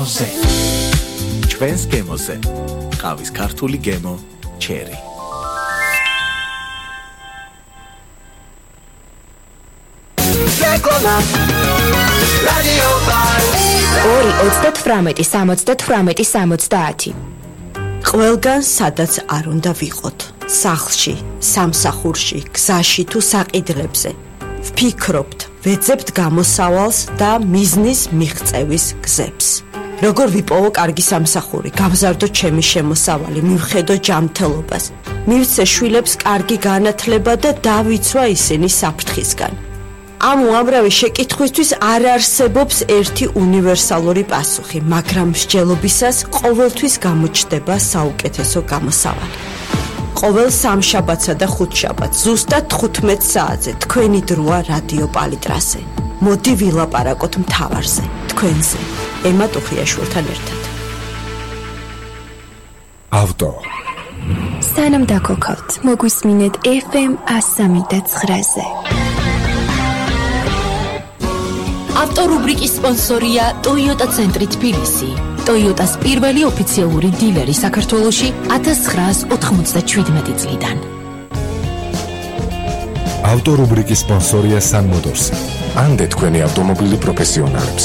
გემოზე. ჩვენს გემოზე. ყავის ქართული გემო ჩერი. რადიო პალი 2-38-70. ყველგან სადაც არ უნდა ვიყოთ, სახლში, სამსახურში, გზაში თუ საყიდლებზე. ვფიქრობთ, ვეძებთ გამოსავალს და მიზნის მიღწევის გზებს. როგორ ვიპოვო კარგი სამსახური, გავზარდო ჩემი შემოსავალი, მივხედო ჯანმრთელობას, მივცე შვილებს კარგი განათლება და დავიცვა ისინი საფრთხისგან. ამ უამრავი შეკითხვისთვის არ არსებობს ერთი უნივერსალური პასუხი, მაგრამ მსჯელობისას ყოველთვის გამოჩნდება საუკეთესო გამოსავალი. ყოველ სამშაბათსა და ხუთშაბათს ზუსტად 15 საათზე თქვენი დროა რადიო პალიტრასზე. მოდი ვილაპარაკოთ მთავარზე, თქვენზე, ემა ტუხიაშვილთან ერთად. ავტო. სანამ დაგოქავთ, მოგვისმინეთ FM 103.9-ზე. ავტორუბრიკის სპონსორია Toyota ცენტრი თბილისი. Toyota-ს პირველი ოფიციალური დილერი საქართველოში 1997 წლიდან. ავტორუბრიკის სპონსორია Sun Motors. ანდე თქვენი ავტომობილი პროფესიონალებს.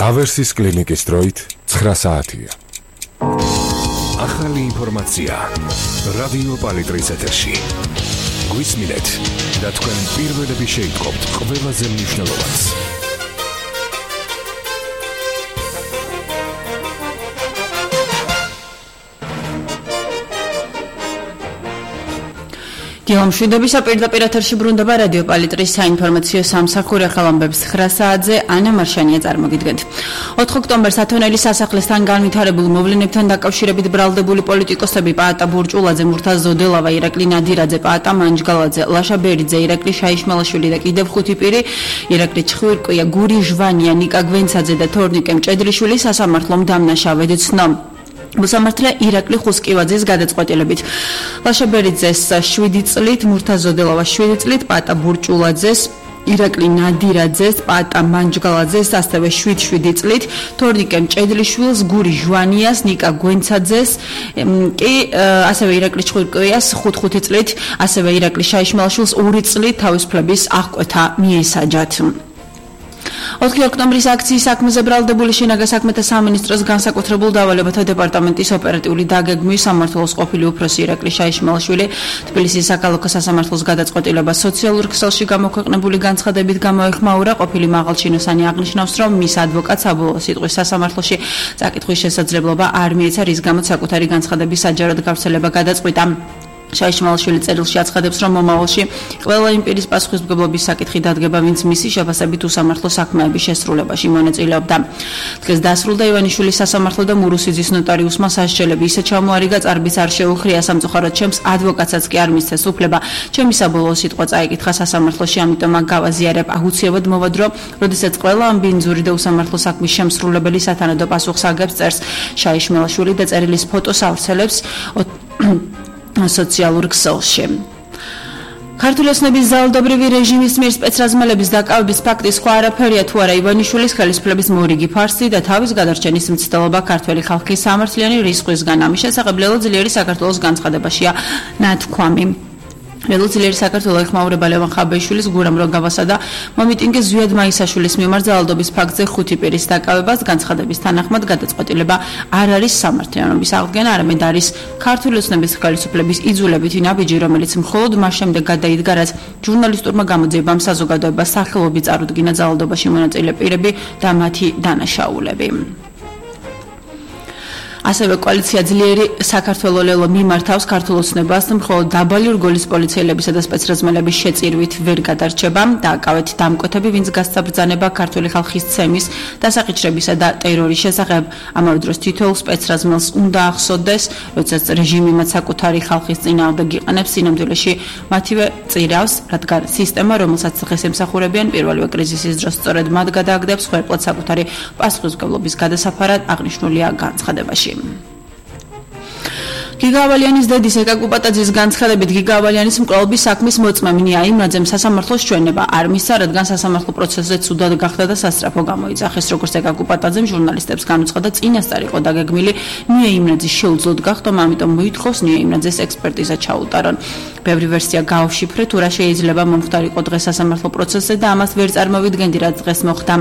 ავერსის კლინიკის დროით 9 საათია. ახალი ინფორმაცია რადიო პალიტრის ეთერში. გვისმინეთ და თქვენ პირველები შეიტყობთ ყველაზე მნიშვნელოვანს. გეომშვიდობისა პირდაპირ ეთერში ბრუნდება რადიო პალიტრის საინფორმაციო სამსახური ახალამბებს 9 საათზე ანა მარშანია წარმოგიდგენთ. 4 ოქტომბერს ათონელის სასახლესთან განვითარებულ მოვლენებთან დაკავშირებით ბრალდებული პოლიტიკოსები პაატა ბურჭულაძე, მურთაზ ზოდელავა, ირაკლი ნადირაძე, პაატა მანჯგალაძე, ლაშა ბერიძე, ირაკლი შაიშმალაშვილი და კიდევ 5 პირი, ირაკლი ჩხვირკვია, გური ჟვანია, ნიკა გვენცაძე და თორნიკე მჭედრიშვილი სასამართლომ დამნაშავედ ცნო. მოსამართლე ირაკლი ხუსკივაძის გადაწყვეტილებით ლაშა ბერიძეს 7 წლით, მურთაზ ზოდელავას 7 წლით, პაატა ბურჭულაძეს, ირაკლი ნადირაძეს, პაატა მანჯგალაძეს ასევე 7 წლით, თორნიკე მჭედრიშვილს, გური ჟვანიას, ნიკა გვენცაძეს კი ასევე ირაკლი ჩხვირკვიას 5 წლით, ასევე ირაკლი შაიშმალაშვილს 2 წლით თავისუფლების აღკვეთა მიესაჯათ. 4 ოქტომბრის აქციის საქმეზე ბრალდებული შინაგან საქმეთა სამინისტროს განსაკუთრებულ დავალებათა დეპარტამენტის ოპერატიული დაგეგმვის სამმართველოს ყოფილი უფროსი ირაკლი შაიშმალაშვილი თბილისის საქალაქო სასამართლოს გადაწყვეტილება სოციალურ ქსელში გამოქვეყნებული განცხადებით გამოეხმაურა. ყოფილი მაღალჩინოსანი აღნიშნავს, რომ მის ადვოკატს საბოლოო სიტყვის სასამართლოში წაკითხვის შესაძლებლობა არ მიეცა, რის გამოც საკუთარი განცხადების საჯაროდ გავრცელება გადაწყვიტა. შაიშმალაშვილი წერილში აცხადებს, რომ მომავალში ყველა იმ პირის პასუხისმგებლობის საკითხი დადგება, ვინც მისი შეფასებით უსამართლო საქმეების შესრულებაში მონაწილეობდა. დღეს დასრულდა ივანიშვილის სასამართლო და მურუსიძის ნოტარიუსმა სასჯელები. ისე ჩამოარიგა, წარბის არ შეუხრია, სამწუხაროდ ჩემს ადვოკატსაც კი არ მისცეს უფლება. ჩემი საბოლოო სიტყვა წაიკითხა სასამართლოში, ამიტომ მაგ გავაზიარებ. აუცილებლად მოვადრო, როდესაც ყველა ამ ბინძური და უსამართლო საქმის შემსრულებელი სათანადო პასუხს აგებს, წერს შაიშმალაშვილი და წერილის ფოტოს ავრცელებს სოციალურ ქსელში. ქართული ოცნების ძალადობრივი რეჟიმის მიერ სპეცრაზმელების დაკავების ფაქტი სხვა არაფერია თუ არა ივანიშვილის ხელისუფლების მორიგი ფარსი და თავის გადარჩენის მცდელობა ქართველი ხალხის სამართლიანი რისხვისგან. ამის შესახებ ლელო ძლიერი საქართველოს განცხადებაშია ნათქვამი. ლელო ძლიერი საქართველოს ეხმაურება ლევან ხაბეიშვილის, გურამ როგავასა და მომიტინგე ზვიად მაისაშვილის მიმართ ძალადობის ფაქტზე 5 პირის დაკავებას. განცხადების თანახმად გადაწყვეტილება არ არის სამართლიანობის აღდგენა, არამედ არის ქართული ოცნების ხელისუფლების იძულებითი ნაბიჯი, რომელიც მხოლოდ მას შემდეგ გადაიდგა, რაც ჟურნალისტურმა გამოძიებამ საზოგადოებას სახელობი წარუდგინა ძალადობაში მონაწილე პირები და მათი დანაშაულები. ასევე კოალიცია ძლიერი საქართველოს ლელო მიმართავს ქართულ ოცნებას, მხოლოდ დაბალი რგოლის პოლიციელებისა და სპეცრაზმელების შეწირვით ვერ გადარჩება. დააკავეთ დამკვეთები, ვინც გასაბრძანება ქართული ხალხის ცემის, დასაყიჩრებისა და ტერორის შესახებ. ამავე დროს თითოეულ სპეცრაზმელს უნდა ახსოვდეს, როდესაც რეჟიმი მათ საკუთარი ხალხის წინააღმდეგ იყენებს, სინამდვილეში მათივე წირავს, რადგან სისტემა, რომელსაც დღეს ემსახურებიან პირველივე კრიზისის დროს, სწორედ მათ გადააგდებს ხერხლად საკუთარი პასუხისმგებლობის გადასაფარად აღნიშნულია განცხადებაში. გიგა ავალიანის დედის ეკაკუ პატაძის განცხადებით გიგა ავალიანის მკვლელობის საქმის მოწმე ნია იმრაძემ სასამართლოს ჩვენება არ მისცა, რადგან სასამართლო პროცესზე ცუდად გახდა და სასწრაფო გამოიძახეს. როგორც ეკაკუ პატაძემ ჟურნალისტებს განუცხადა, წინასწარ იყო დაგეგმილი ნია იმრაძის შეუძლოდ გახდომა, ამიტომ მოითხოვს ნია იმრაძეს ექსპერტიზა ჩაუტარონ. ბევრი ვერსია გაავშიფრე, თუ რა შეიძლება მომხდარიყო დღეს სასამართლო პროცესზე და ამას ვერ წარმოვიდგენდი, რაც დღეს მოხდა.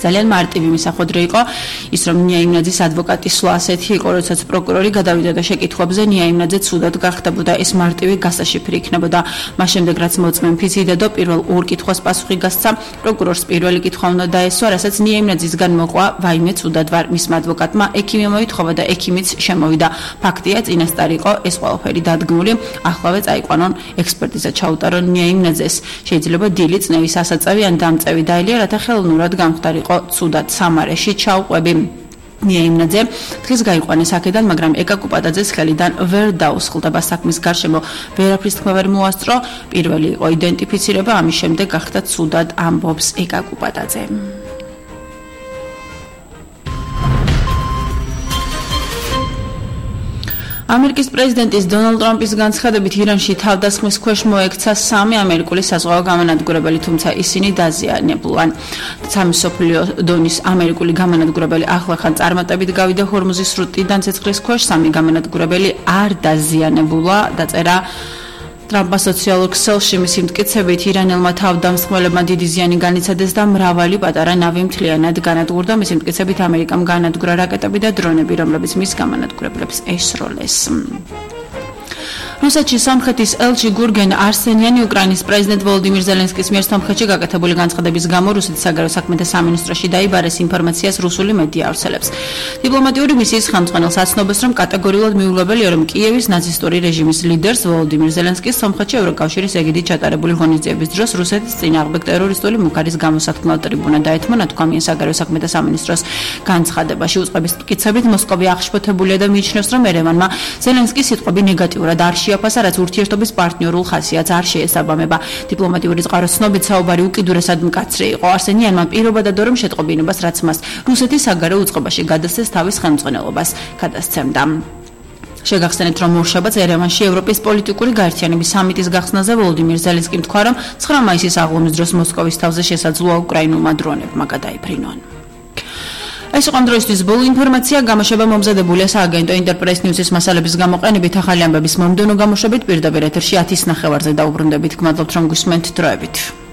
ძალიან მარტივი მისახვედრი იყო ის, რომ ნია იმრაძის ადვოკატის სვლა ასეთი იყო, როდესაც პროკურორი გადავიდა და შეკითხვებზე ნია იმრაძე ცუდად გახდებოდა, ეს მარტივი გასაშიფრი იქნებოდა. მას შემდეგ რაც მოწმემ ფიციდედო პირველ ორ კითხვას პასუხი გასცა, პროკურორს პირველი კითხვა უნდა დაესვა, რასაც ნია იმრაძისგან მოყვა, ვაიმე ცუდად ვარ. მისმა ადვოკატმა ექიმი მოითხოვა და ექიმიც შემოვიდა. ფაქტია, წინასწარ იყო ეს ყველაფერი დადგმული, ახლავე წაიყვანონ ექსპერტიზა ჩაუტარონ ნია იმრაძეს. შეიძლება დილი წნევის ასაწევი ან დამწევი დაელია, რათა ხელოვნურად გამხდარიყო ცუდად სამარეში ჩაუყვები. ნია იმრაძე დღეს გაიყვანეს აქედან, მაგრამ ეკაკუ პატაძეს ხელიდან ვერ დაუსხლდება საქმის გარშემო ვერაფრის თქმა ვერ მოასწრო. პირველი იყო იდენტიფიცირება, ამის შემდეგ გახდა ცუდად, ამბობს ეკაკუ პატაძე. ამერიკის პრეზიდენტის დონალდ ტრამპის განცხადებით ირანში თავდასხმის ქვეშ მოექცა 3 ამერიკული საზღვაო გამანადგურებელი, თუმცა ისინი დაზიანებულან. სამსოფლიო დონის ამერიკული გამანადგურებელი ახლახან წარმატებით გავიდა ჰორმუზის სრუტიდან ცეცხლის ქვეშ, 3 გამანადგურებელი არ დაზიანებულა, დაწერა ტრამპმა სოციალურ ქსელში. მისი მტკიცებით ირანელმა თავდამსხმელებმა დიდი ზიანი განიცადეს და მრავალი პატარა ნავი მთლიანად განადგურდა. მისი მტკიცებით ამერიკამ განადგურა რაკეტები და დრონები, რომლებიც მის გამანადგურებლებს ესროლეს. რუსეთში სომხეთის ელჩი გურგენ არსენიანი უკრაინის პრეზიდენტ ვოლოდიმირ ზელენსკის მიერ სომხეთში გაკეთებული განცხადების გამო რუსეთის საგარეო საქმეთა სამინისტროში დაიბარეს ინფორმაციას რუსული მედია ავრცელებს. დიპლომატიური მისიის ხელმძღვანელს აცნობს, რომ კატეგორიულად მიუღებელია, რომ კიევის ნაცისტური რეჟიმის ლიდერს ვოლოდიმირ ზელენსკის სომხეთში ევროკავშირის ეგიდით ჩატარებული ღონისძიების დროს რუსეთის წინააღმდეგ ტერორისტული მუქარის გამოსათქმელად ტრიბუნა დაეთმო, ნათქვამია საგარეო საქმეთა სამინისტროს განცხადებაში. უწყების მტკიცებით მოსკოვი აღშფოთებულია და მიიჩნევს, რომ ერევანმა ზელენსკის სიტყვები ნეგატიურად არ შეაფასა, რაც ურთიერთობის პარტნიორულ ხასიათს არ შეესაბამება. დიპლომატიური წყაროს ცნობით საუბარი უკიდურესად მკაცრი იყო. არსენიანმა პირობა დადო, რომ შეტყობინებას, რაც მას რუსეთის საგარეო უწყებაში გადასცეს, თავის ხელმძღვანელობას გადასცემდა. შეგახსენეთ, რომ ორშაბათს ერევანში ევროპის პოლიტიკური გაერთიანების სამიტის გახსნაზე ვოლოდიმირ ზელენსკიმ თქვა, რომ 9 მაისის აღლუმის დროს მოსკოვის თავზე შესაძლოა უკრაინულმა დრონებმა გადაიფრინონ. ეს იყო დროისთვის ბოლო ინფორმაცია. გამოშვება მომზადებულია სააგენტო ინტერპრეს ნიუსის მასალების გამოყენებით. ახალი ამბების მომდევნო გამოშვებით პირდაპირ ეთერში 10:09-ზე დაუბრუნდებით. გმადლობთ, რომ გვისმენთ. დროებით.